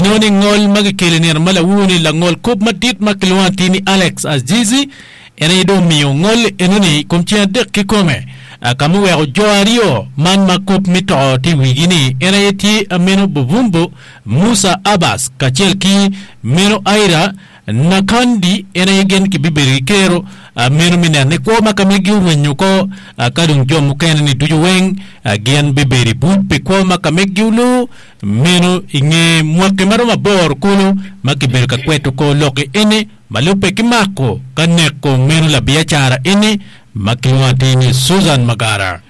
Inongo ni ngol ma kikelo i nino ma lawur-ni langol kop madit ma kilwongo atir ni Alex Azizi en aye dong omiyo ngol enoni i kom ceng adek kikome ka ma oweko jo aryo man ma kop me to tye i wigi-ni en aye tye Ameno Buvumbu Musa Abbas kacel ki Meno Aira Nakandi en aye gin kibibedo ki kero meno me neno ni kwo ma ka megi orwenyo oko ka dong jo mukene-ni ducu weng gin bibedo i buc pi kwo ma ka megi oluu meno i nge mwaki ma romo aboro kulu ma kibedo ka kweto kor lok-ki eni ma lubbe ki mako ka neko meno labiacara eni ma kilwongo atir ni Susan Magara.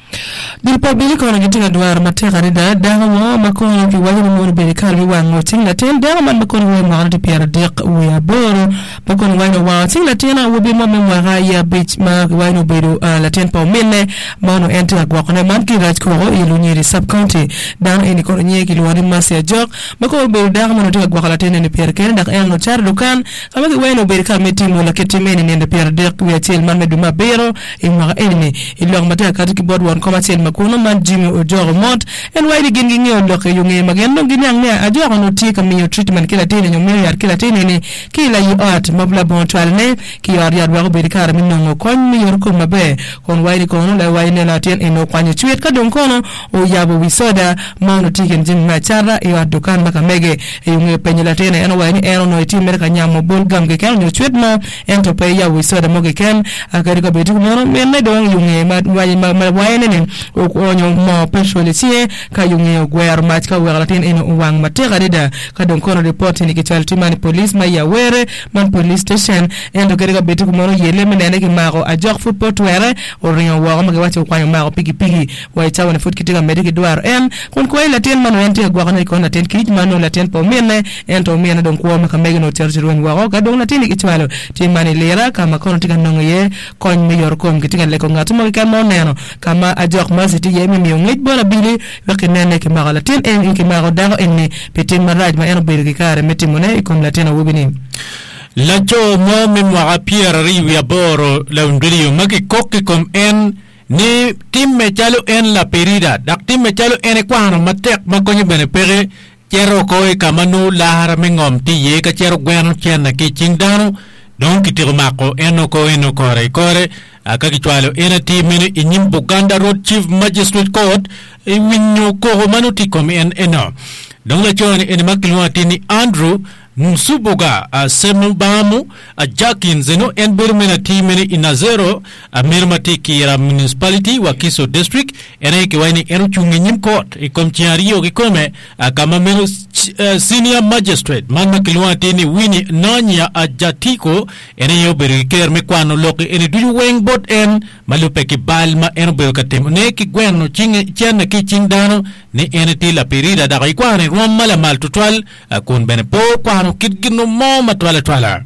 Dul pa abili kono gitye ka dwaro matek adada dako mo ma kono kiwaco ni mono obedo i kare me wango cing latin. Dako man ma kono wai mwakane tye pyeradek wiye aboro ma kono waco ni owango cing latin awobi mo me mwaka aye abic ma kiwaco ni obedo latin pa ominne ma onongo en tye ka gwokone. Man ki rac koko i Lunyiri Sub County. Dano eni kono nyinge kilwongo ni Mercy Ajok ma kono obedo dako ma onongo tye ka gwoko latin eni pire kene dok en onongo cato i dukan ka ma kiwaco ni obedo i kare me timo lakit tim eni nino pyeradek wiye acel man me dwe me abiro I mwaka eni-ni, i lok ma tye ka kati ki bot won kom acel ma kunu man Jimmy Ojok Omot, en waco ni gin gingeyo lok i yo ngeye ma gin dong giniang ni Ajok onongo tye ka miyo treatment ki latin-ni nyo miyo yat ki latin-ni ki i layi ot ma labongo cwalone ki i ot yat wek obed ki kare me nongo kony me yoto kom maber. Kun waco ni kono lawaco ni latin eni okwanyo cwit ka dong kono oyabo wi soda ma onongo tye i kin jami me acata i ot dukan ma ka mege. I yo ngeye penyo latin-ni en owaco ni en onongo etye mere ka nyamo bol gam keken nyo cwit mo Ento pe iyabo wi soda mo keken. Kadi ka bed kumeno, minne dong i ngeye ma wayone-ni oonyo moo petrol i cinge ka i ngeye ogwero mac ka oweko latin eni owang matek adada. Ka dong kono ripot eni kicwalo tye man i police ma i Awere man police station. Ento kadi ka bed kumeno yelle me nene kimako ajok pud pe otwere oringo woko ma kiwaco okwanyo omako pikipiki wa i cawa-ni pud kitye ka medde ki dwaro en kun kwayo latin ma nongo en tye ka gwokone i kon latin kic ma nongo latin pa ominne. Ento omine dong kwo ma ka mege-ni ocito ci rweny woko. Ka dong latinni kicwalo, tye man i lira ka ma kono tye ka nongo iye kony me yotokom. Kitye ka lego ngat mo keken ma oneno ka ma ajok Mercy tye iye me miyo ngec bot abili wek kinen ni kimako latin eni, kimako dako eni pi tim marac ma en obedo ki kare me timone i kom latin awobi-ni. Laco mo me mwaka pyeraryo wiye aboro laondiriyo ma kikok i kom en ni timme calo en lapirida dok timme calo en ekwano matek ma konye bene peke Cito oko i ka ma nongo lara me ngom tye iye ka cito gweno cente ki i cing dano, dong kityeko mako en oko eno kore i kore ka kicwalo en atir meno i nyim Buganda Road Chief Magistrate Court i winyo koko ma nongo tye i kom en eno. Dong laco-ni eni ma kilwongo atir ni Andrew Nsubuga Ssemubamu Jakins eno en bedo meno atir meno i Nazero meno ma tye i Kira Municipality, Wakiso District. En aye kiwaco ni en ocung i nyim kot i kom ceng aryo kikome ka ma meno Senior Magistrate man ma kilwongo atir ni Winnie Nanya Ajatiko en aye obedo ki ker me kwano lok eni ducu weng bot en ma lubbe ki bal ma en obedo ka timone ki gweno cente ki i cing dano ni en etye lapirida dok ikwano i rwom ma lamal tutwal kun bene pe okwano kit gin mo matwal atwala.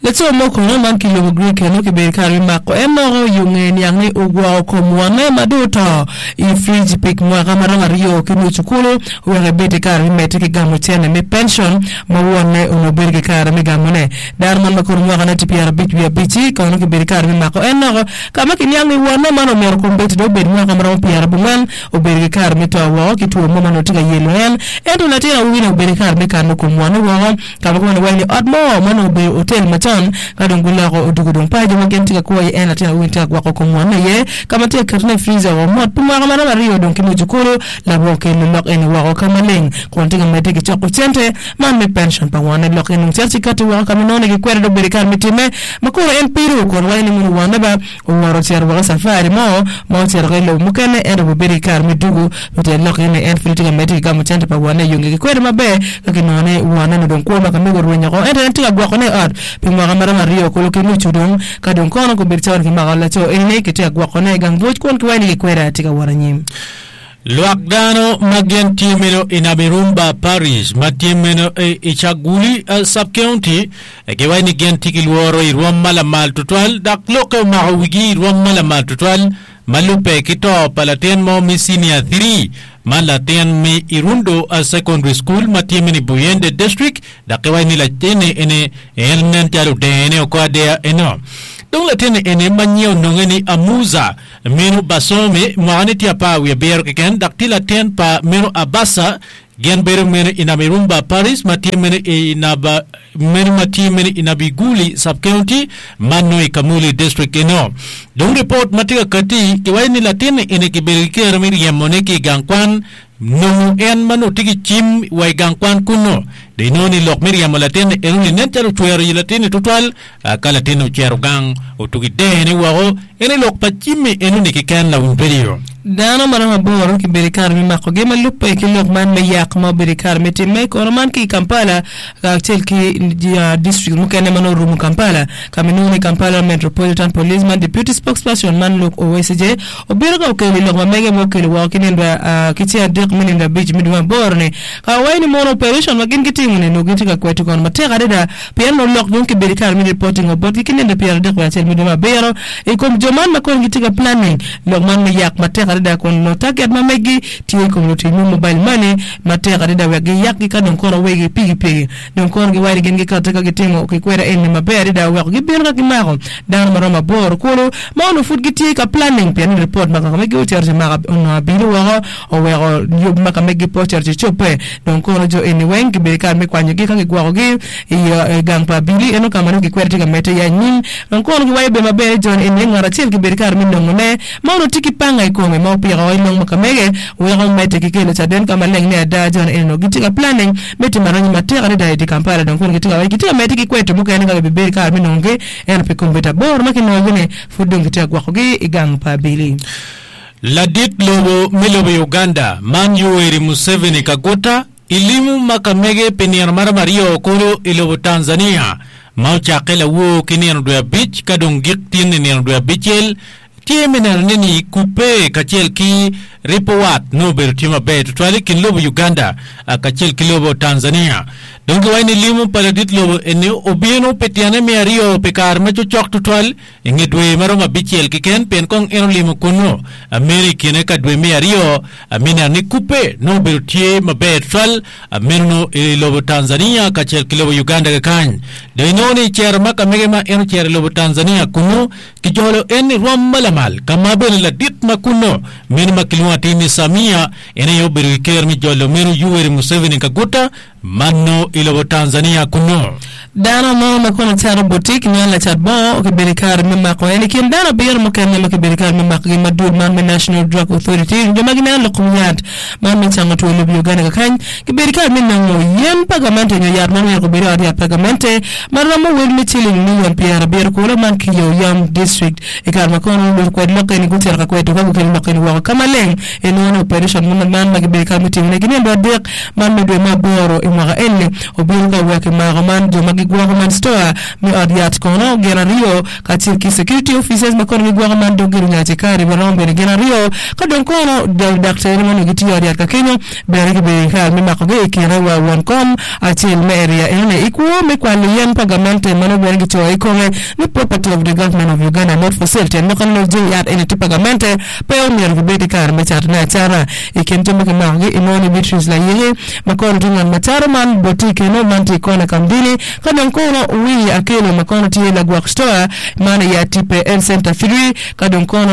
Laco mo kono man ki lobo Grik eno kibedo i kare me mako en loko yo nge niang ni ogwoko kom wonne ma dong oto i frij pi mwaka ma romo aryo ki nucu kulu wek ebed ki kare me medde ki gamo cene me pension ma wonne onongo bedo ki kare me gamone. Dano man ma kono mwakane tye pyerabic wiye abic-ci kono kibedo i kare me mako en loko ka ma kiniang ni wonne man omyero kombeddi dong obed mwaka ma romo pyerabongwen Obedo ki kare me to woko ki two mo ma onongo tye ka yelo en. Ento latin awobi-ni obedo ki kare me kano kom wonne woko ka ma kome waco ni ot mo ma onongo obedo otel macon. Ka dong guloko odwogo dong paco ma gin tye ka kwo iye, en latin awobi-ni tye ka gwoko kom wonne iye ka ma tye ka ketone i friza woko mot pi mwaka ma romo aryo dong ki nucu kulu. Labongo kelo lok eni woko ka maleng kun tye ka medde ki coko cente man me pension pa wonne. Lok eni dong cito ci kati woko ka ma inongo ni gikwede dong obedo ki kare me timme ma kono en pido kun waco ni mono wonne ba Owoto ocito woko i cafari mo ma ocito ki i lobo mukene, ento obibedo ki kare me dugo. Pi tyen lok eni, en pud tye ka medde ki gamo cente pa wonne i yo ngegi kwede maber ka kinongo ni wonne-ni dong kwo ma ka mego orwenyo oko. Ento en tye ka gwokone i ot pi mwaka ma romo aryo kulu ki nucu dong. Ka dong kono kobedo cawa ni kimako laco eni, kitye ka gwokone i gang buc kun kiwaco ni kikweda tye ka wot anyim. Lwak dano ma gin tye meno i Namirumba Parish ma tye meno i Chaguli Sub-County giwaco ni gin tye ki lworo i rwom ma lamal tutwal dok lokke omako wigi i rwom ma lamal tutwal ma lubbe ki to pa latin mo me Senior Three ma latin me Irundu Secondary School ma tye meno i Buyende District dok giwaco ni latinni eni en nen calo odene oko adeya eno. Dong latinni eni ma nyinge ononge ni Amuza Meno Basome, mwakane tye apar wiye abiro keken, dok tye latin pa meno Abasa. Gin bedo meno i Namirumba Parish ma tye meno i Naba meno ma tye meno i Nabiguli Sub-County ma nongo i Kamuli District eno. Dong ripot ma tye ka katti kiwaco ni latin-ni eni kibedo ki kero me ryemone ki i gang kwan nongo en ma nongo tye ki cim wa i gang kwan kunnu. Dong inongo ni lok me ryemo latin-ni enoni nen calo ocwero yi latin-ni tutwal ka latin-ni ocito gang otugi dene woko. Eni lok pa cim-mi enoni keken lawiny redio. Dano ma romo aboro kibedo i kare me makogi ma lubbe ki lok man me yak ma obedo i kare me timme kono man ki i Kampala kacel ki district mukene ma nongo orumo Kampala ka ma inongo ni Kampala Metropolitan Police man Deputy Spokesperson man Luke Owesigye obino ka okelo i lok ma mege ma okelo woko ki nindo ki ceng adek me nindo abic me dwe me aboro ni ka owaco ni mono operation ma gin gitimo ni nongo gitye ka kweto kono matek adada pien nongo lok dong kibedo i kare me reporting wa botgi ki nindo 31 me dwe me abiro i kom jo man ma kono gitye ka planning lok man me yak matek adada kun nongo target ma meggi tye i kom lutic me mobile money matek adada wek giyakgi ka dong kono wegi pikipiki dong kono giwaco ni gin gikate ka gitimo ki kweda eni maber adada oweko gibino ka gimako dano maromo aboro kulu ma onongo pud gitye ka planning pien ni report ma kaka megi ocito ci mako onongo abili woko oweko yub ma ka megi pe ocito ci cobbe dong kono jo eni weng gibedo kare me kwanyogi ka gigwokogi i gang pa abili eno ka ma nongo gikwede tye ka medde iye anyim dong kono giwaco bene maber ni jo eni ngat acel gibedo kare me nongone ma onongo tye ki panga i kome ma opiko i long ma ka mege weko omedde ki kelo caden ka maleng ni ada jo eni onongo gitye ka planning me timo aranyi matek adada i dye Kampala dong kono gitye ka waco gitye ka medde ki kweto mukene ka gibibedo kare me nongogi ento pi kombeddi aboro ma kinongogi-ni pud dong gitye ka gwokogi i gang pa abili. Ladit lobo me lobo Uganda man Yoweri Museveni Kaguta i limu ma ka mege pi nino maromo aryo kulu i lobo Tanzania ma ocakke lawor ki nino dwe abic ka dong gik tin i nino dwe abicel tye me neno ne ni kubbe kacel ki ripo wat nongo obedo tye maber tutwal i kin lobo Uganda kacel ki lobo Tanzania. Dong kiwaco ni limu pa ladit lobo eni obino pi tyene me aryo pi kare ma cocok tutwal I nge dwe ma romo abicel keken, pien kong en olimo kunnu, meno i kine ka dwe me aryo, me neno ni kubbe nongo obedo tye maber tutwal, meno nongo i lobo Tanzania kacel ki lobo Uganda kakany. Dong inongo ni i cero ma ka mege ma en ocero i lobo Tanzania kunnu, kijolo en i rwom ma lamal, ka ma bene ladit ma kunnu, meno ma kilwongo atir ni Samia, en aye obedo ki ker me jolo meno Yoweri Museveni Kaguta, Manno i lobo Tanzania kunnu. Dano mo ma kono cato butik nyo lacat bongo okibedo i kare me mako en i kin dano abiro mukene ma kibedo i kare me makogi ma dul man me National Drug Authority jo ma gineno lok kom yat man me cango two lobo i Uganda kakany kibedo i kare me nongo yen pa gamente nyo yat ma myero obed i ot yat pa gamente ma romo wel me ciling million pyerabiro kulu man ki i Oyam District i kare ma kono lukwed lok eni gucito ka kwedo ka gukelo lok eni woko ka maleng inongo ni operation man ma gibedo i kare me timone ki nino adek Man me dwe me aboro i mwaka eni obino ka wek kimako man jo ma gigwoko man store me ot yat kono gin aryo kacel ki security officers ma kono gigwoko man dog gin nyacikari ma romo bene gin aryo ka dong kono daktere ma onongo gitiyo i ot yat ka kenyo bene gibedo ki kare me makogi i kine wa won kom acel me area enoni i kwo me kwalo yen pa gamente ma nongo bene gicoyo i kome ni property of the government of Uganda not for sale tyen lok ni jami yat eni tye pa gamente pe omyero gibed ki kare me catone acata. I kin jo ma kimakogi inongo ni Beatrice Layeke ma kono tye ngat ma cato man botik eno man tye i kona Kamdini ka dong kono Winnie Akello ma kono tye lagwok store man i Atipe Health Center Three ka dong kono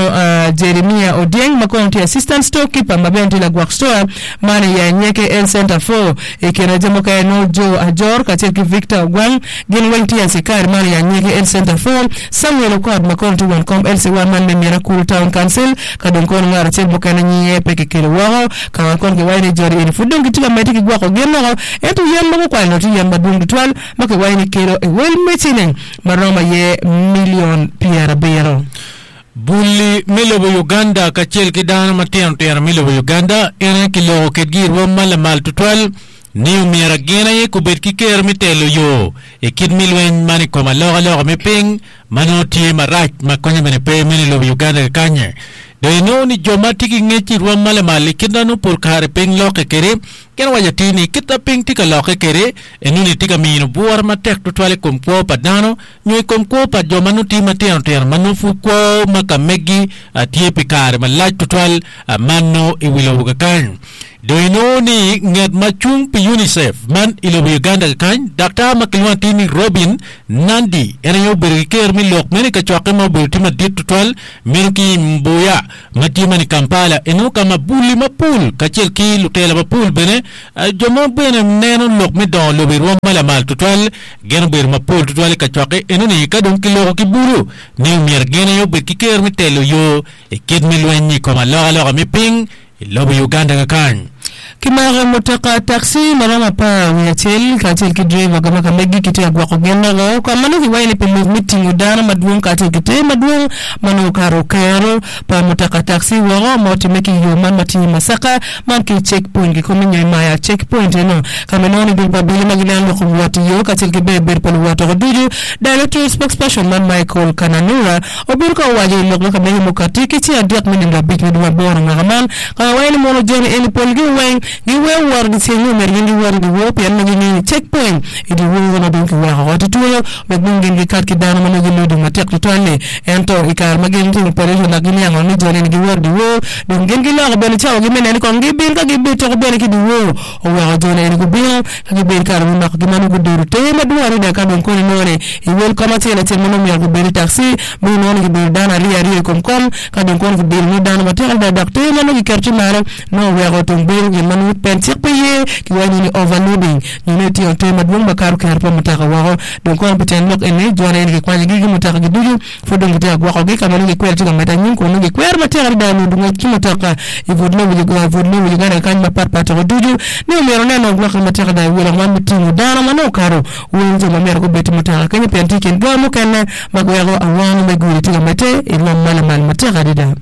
Jeremia Odyeng ma kono tye assistant store keeper ma bene tye lagwok store man i Anyeke Health Center Four. I kine jo mukene nongo Joe Ajor kacel ki Victor Ogwang gin weng tye acikari man i Anyeke Health Center Four. Samuel Okot ma kono tye won kom LC1 man me Mira-Kuru Town Council ka dong kono ngat acel mukene nyinge pe kikelo woko ka ma kono kiwaco ni joni eni pud dong gitye ka medde ki gwoko gin woko ento yen ma gukwalo tye yen madwong tutwal ma kiwaco ni kelo i wel me ciling ma romo aye milion pyerabiro. Bulli me lobo Uganda kacel ki dano matino tino me lobo Uganda en aye kiloko kedgi i rwom ma lamal tutwal ni omyero gin aye gubed ki kero me telo yo i kit me lweny man i kom alokaloka me piny ma nongo tye marac ma konye bene pe meno i lobo Uganda kakanye. Dong inongo ni jo ma tye ki ngec i rwom ma lamal i kit ma nongo pol kare piny lokke kwede gin waco atir ni kit ma piny tye ka lokke kwede enoni tye ka mino bwura matek tutwal i kom kwo pa dano nyo i kom kwo pa jo ma nongo tye matino tino ma nongo pud kwo ma ka megi tye pi kare malac tutwal ma nongo i wi lobo kakany. Dong inongo ni ngat ma cung pi UNICEF man i lobo Uganda kakany, daktar ma kilwongo atir ni Robin Nandi, en aye obedo ki ker me lok meno i kacokke ma obedo tye madit tutwal meno ki i Mbuya ma tye man i Kampala. Inongo ka ma buli mapol kacel ki lutela mapol bene, jo ma bene neno lok me dongo lobo i rwom ma lamal tutwal gin obedo mapol tutwal i kacokke enoni ka dong kiloko ki bulu ni omyero gin aye obed ki ker me telo yo i kit me lweny i kom alokaloka me piny i lobo Uganda kakany. Kimako mutoka taxi ma romo 11 kacel ki driver ga ma ka megi kitye ka gwoko gin woko ka ma nongo kiwaco ni pi lok me tingo dano madwong kacel ki ter madwong ma nongo okato kero pa mutoka taxi woko ma otimme ki i yo man ma tye i Masaka man ki i check point kikome nyo i Maya check point eno ka ma inongo ni dul pa abili ma gineno lok kom wot i yo kacel ki ber bedo pa luwot woko ducu Directorate Spokesperson man Michael Kananura Obedo ka owaco i lok ma ka mege mukati ki ceng adek me nino abic me dwe aboro mwaka man, ka wawaco ni mono joni eni polgi weng giweyo wot dyeceng nyo myero gin giwot i dyewor pien nongo gingeyo ni check point i dyewor ma dong kiweko oko tutwalo wek dong gin gikat ki dano ma nongo gilodo matek tutwal-li. Ento i kare ma gin timo operation dok giniango ni joni eni giwot i dyewor dong gin giloko bene cawagi me neno ni kong gibin ka gibitoko bene ki dyewor oweko joni eni gubino ka gibedo kare me makogi ma nongo gudodo ter madwong adada ka dong kono inongo ni i wel kom acel acel ma nongo myero gubed i taxi ma inongo ni gibedo dano aryo aryo i kom kom ka dong kono gibilo nongo dano matek adada dok ter ma nongo giketo ci malo nongo oweko tung bedo gin ma nongo pen cik pe ye kiwaco ni overloading nyo nongo itingo ter madwong makato kero pa mutoka woko dong kono pi tyen lok eni joni eni kikwanyogi ki mutokagi ducu Pud dong gitye ka gwokogi ka ma nongo gikwero tye ka medde anyim kun nongo gikwero matek adada nyo ngwec ki mutoka i but lobo Uganda kany mapat pat woko ducu ni omyero onen nongo gwokke matek adada i wi lok man me tingo dano ma nongo okato wel jo ma myero gubed i mutoka kenyo pien tye i kin ga mukene ma giweko awano me gudi tye ka medde i rwom ma lamal matek adada.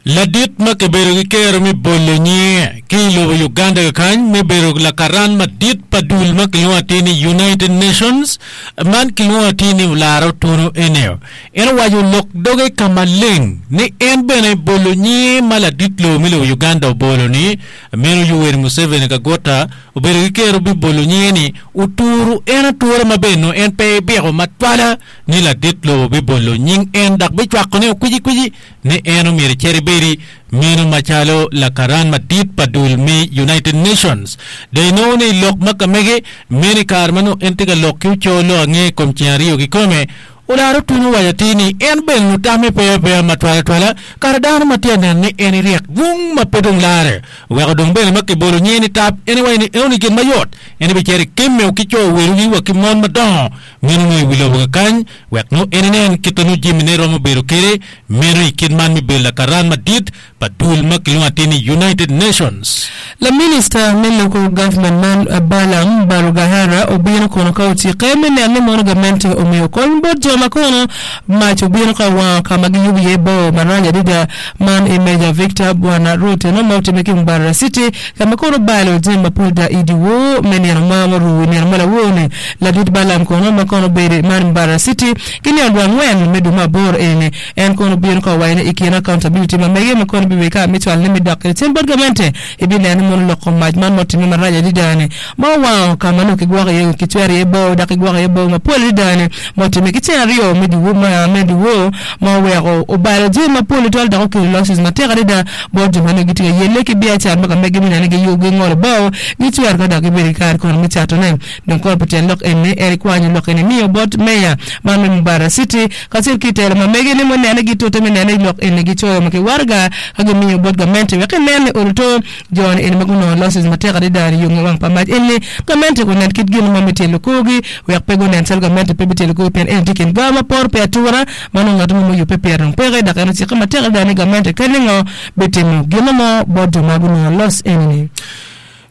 Ladit ma kibedo ki kero me bolo nyinge ki i lobo Uganda kakany me bedo lakaran madit pa dul ma kilwongo atir ni United Nations man kilwongo atir ni Olara Otuno Eneo en owaco lok doge ka maleng ni en bene bolo nyinge ma ladit lobo me lobo Uganda obolo ni meno Yoweri Museveni Kaguta obedo ki kero bibolo nyinge ni oturu en atura maber nongo en pe ebiko matwala ni ladit lobo bibolo nying en dok bicwako ne okwicikwici ni en omyero ecit ebedi meno macalo lakaran madit pa dul me United Nations. Dong inongo ni i lok ma ka mege meno i kare ma nongo en tye ka lok ki oco lok ange i kom ceng aryo kikome, Olara Otuno owaco atir ni en bene onongo tamme pe apeya matwal atwala kare dano ma tye ka neno ni en iryek bung ma pe dong lare oweko dong bene ma kibolo nyinge ni tap en iwaco ni enoni gin mayot en ebicito ekemme ki co werogi wa ki mon madongo meno nongo i wi lobo kakany Wek nongo en inen kit ma nongo jamine romo bedo kwede, meno i kit man me bedo lakaran madit pa dul ma kilwongo atir ni United Nations. Laminista me Local Government man Balaam Barugahara obino kono ka ocikke me neno ni mono gamente omiyo kony bot jo ma kono mac obino ka wango ka ma giyubo iye bor marac adada man i Major Victor Bwana Road eno ma otimme ki Mbarara City ka ma kono obalo jami mapol da i dyewor me nino ma oru i nino ma lawor-ni. Ladit Balaam kono ma kono obedo i man Mbarara City ki nino dwe angwen me dwe me aboro eni en kono obino ka owaco ni i kine accountability ma mege ma kono bibedo ka me cwalo ne me dok kwede cen bot gamente ibineno ni mono lok kom mac man ma otime marac adada ni ma owango ka ma nongo kigwoko iye kicwero iye bao dok kigwoko iye bao mapol adada ni ma otime ki ceng aryo me dyewor ma oweko obalo jami mapol tutwal dok okelo losses matek adada bot jo ma nongo gitye ka yelle ki biacara ma ka megi me neno ni giyubo gingolo bao gicwero ka dok gibedo ki kare kono me catone. Dong koro pi tyen lok eni, en ikwanyo lok eni imiyo bot meya man me Mbarara City kacel ki telo ma mege ni munene gitute me nene lok eni gicoyo ma ki waraga ka gimiyo bot gamente wek inen ni oluto jo ni eni ma gunongo losses matek adada ni yonge wang pa mac eni gamente gunen kit gin mo me tyelo korgi wek pe gunen calo gamente pe bityelo korgi pien eni tye kin gawa ma poro pi atura ma nongo ngat mo muyubbe pire dong peke dok en ocikke matek adada ni gamente kadi ningo bitimo gin mo bot jo ma gunongo loss eni ni.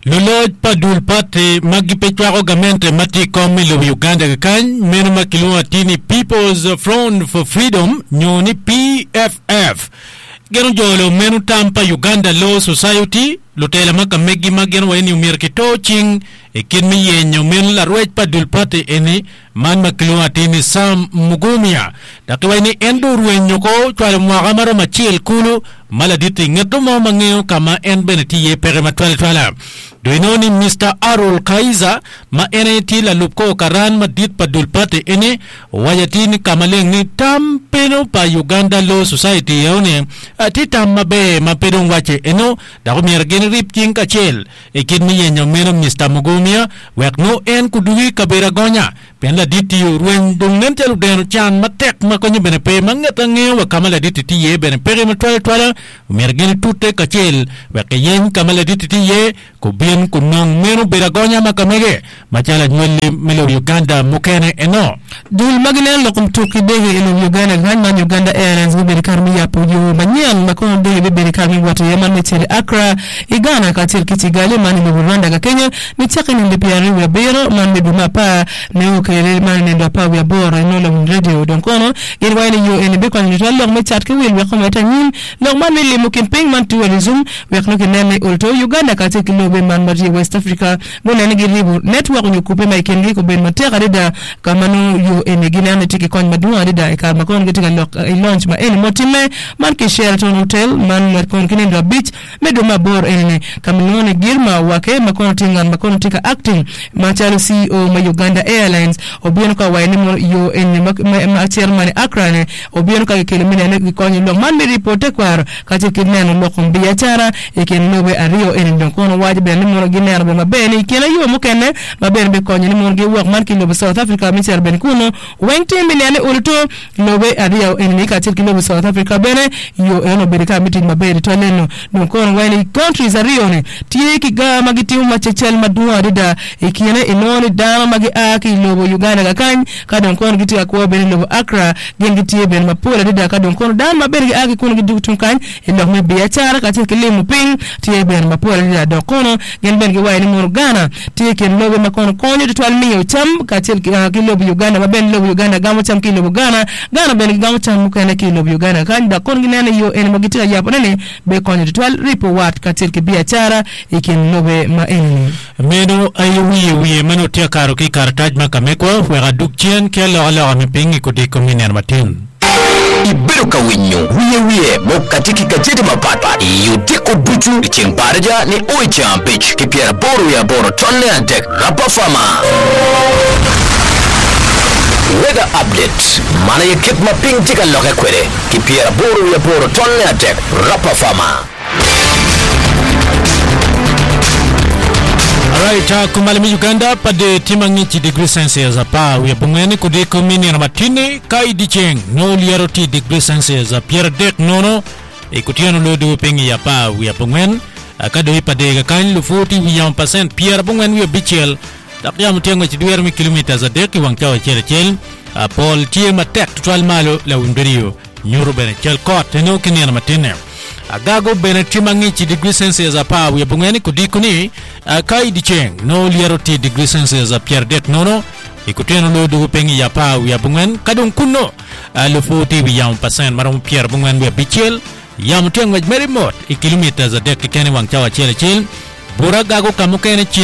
Luloc pa dul pati ma gipe cwako gamente ma tye i kom i lobo Uganda kakany meno ma kilwongo atir ni People's Front for Freedom nyo ni PFF gin ojolo meno tam pa Uganda Law Society lutela ma ka megi ma gin owaco ni omyero kito cing i kit me yenyo meno larwec pa dul pati eni Man ma kilwongo atir ni Sam Mugumya dok kiwaco ni en dong orwenyo oko cwalo mwaka ma romo acel kulu ma ladit-ti ngeto mo ma ngeyo ka ma en bene tye iye peke matwal atwala. Dong inongo ni Mister Arul Kaiza ma en aye tye lalub kor karan madit pa dul pati eni owaco atir ni ka maleng ni tam peno pa Uganda Law Society eno ni tye tam maber ma pe dong wacce eno dok omyero gin. gin rib cing kacel i kit me yenyo meno Mister Mugumya wek nongo en kudugi i kabedo agonya pien ladit-ti orweny dong nen calo odeno can matek ma konye bene pe ma nget angeyo wa ka ma ladit-ti tye iye bene peke matwal atwala omyero gin itute kacel wek kiyeny ka ma ladit-ti tye iye Kubin kunong meno obedo agonya ma ka mege macalo anywalli me lobo Uganda mukene eno. Dul ma gineno lok kom tuk ki dege i lobo Uganda kany man Uganda Airlines gubedo i kare me yabo yo manyen ma kono dege bibedo i kare me wot iye man me cito i Accra i Ghana kacel ki Kigali man i lobo Rwanda ka kenyo nicakke i nino 27 man me dwe me apar nio kwede man i nino 18 inongo lawiny radio dong kono gin waco ni yo eni bikonyo tutwal lok me cat ki wil wek omedde anyim lok man me limo kin piny man tourism Wek nongo kinen ni olto Uganda kacel ki lobe man ma tye i West Africa gunen ni giribo network nyo kubbe ma i kingi obedo matek adada ka ma nongo yo eni gineno ni tye ki kony madwong adada i kare ma kono gitye ka lok i launch ma eni mutimme man ki Sheraton Hotel man ma kono ki nindo abic me dwe me aboro eni ni ka ma nongo ni Girma Wake ma kono tye ngat ma kono tye ka acting macalo CEO me Uganda Airlines obino ka waco ni mono yo eni ma cito man i Accra ni obino ka kikelo me neno ni gikonyo lok man me ripo tekwaro Kacel ki neno lok kom biacara i kin lobe aryo eni dong kono waco bene ni mono gineno bene maber ni i kine yo mukene ma bene bikonyo ni mono giwok man ki lobo South Africa me cito bene kunu weng tye me neno ni oluto lobe aryo eni ni kacel ki lobo South Africa bene yo eno obedo kare me tic maber tutwal eno dong kono waco ni countries aryo ni tye ki gar ma gitimo macecel madwong adada i kine inongo ni dano ma gia ki i lobo Uganda kakany Ka dong kono gitye ka kwo bene i lobo Accra, gin gitye bene mapol adada. Ka dong kono dano ma bene gia ki kunu gidwogo tung kany i lok me biacara kacel ki limo piny tye bene mapol adada. Dok kono gin bene giwaco ni mono Ghana tye i kin lobe ma kono konyo tutwal miyo cam kacel ki lobo Uganda ma bene lobo Uganda gamo cam ki i lobo Ghana, Ghana bene gigamo cam mukene ki i lobo Uganda kany. Dok kono gineno ni yo eni ma gitye ka yabone-ni bikonyo tutwal ripo wat kacel ki biacara i kin lobe ma eni-ni. Meno aye wiye wiye ma nongo tye ka kato ki i karatac ma ka mekwa wek adug cen ki alokaloka me piny i kodiko me nino matin. Ibedo ka winyo wiye wiye mukati ki gajeti mapatpat i odiko ducu i ceng Baraja ni o i ceng abic ki pyeraboro wiye aboro tonne adek Rapa Farmer. Weather Update, Man aye kit ma piny tye ka lokke kwede ki pyeraboro wiye aboro tonne adek Rapa Farmer. Alright, uh, kumalo me Uganda pade tye mangic i degree Celsius apar wiye abongwen kudiko me nino matini ka i dyeceng nongo lyeto tye i degree Celsius 30 nono i kutyeno loyo dwogo piny i apar wiye abongwen uh, ka dong i pade kakany lupu tye i wi yamo pacent 95 Dok yamo tye ngwec dwiro me kilomitas adek i wang cawa acel acel. Pol tye matek tutwal malo lawiny redio nyuto bene cal kot eno ki nino matinne. Agago bene tye mangic i digri Celsius 14 kodiko ni ka i dyeceng nongo lyeto tye i digri Celsius 30 nono i kutyeno loyo dwogo piny i 14 ka dong kunno lupu tye i wi yamo pacent maromo 95. Yamo tye ngwec mere mot i kilomitas adek keken i wang cawa acel acel. Bur agago ka mukene ceng.